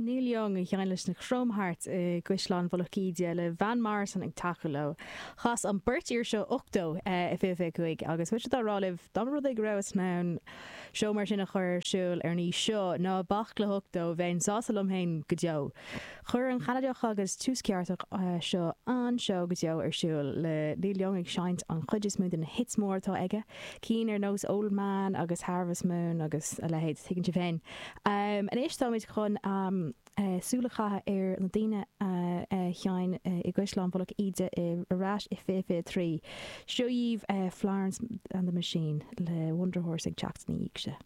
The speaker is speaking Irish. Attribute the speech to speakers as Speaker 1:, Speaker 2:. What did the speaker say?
Speaker 1: Neil Young a sheinn leis na Chrome Hearts i gCaisleán Mhullach Íde le Van Morrison ag tacú leo. Chas an beirt fhear seo 80 i 2025 agus mise dá rá libh, dá mba rud é go rabhas in ann seó mar sin a chur ar siúl ar an aois seo, ná bac le 80, bheinn sásta liom féin go deo. Chuir an Ceanadach agus Tuaisceartach seo an-seó go deo ar siúl, le Neil Young ag seinnt an chuid is mó de na hits móra atá aige, cinn ar nós Old Man agus Harvest Moon agus a leithéid, tuigeann sibh féin. Anois táimid chun súil a chaitheamh ar na daoine a sheinn i gCaisleán Mhullach Íde ar ais i 2023. Seo dhaoibh Florence and the Machine le Wonder Horse ag teacht ina dhiaidh seo.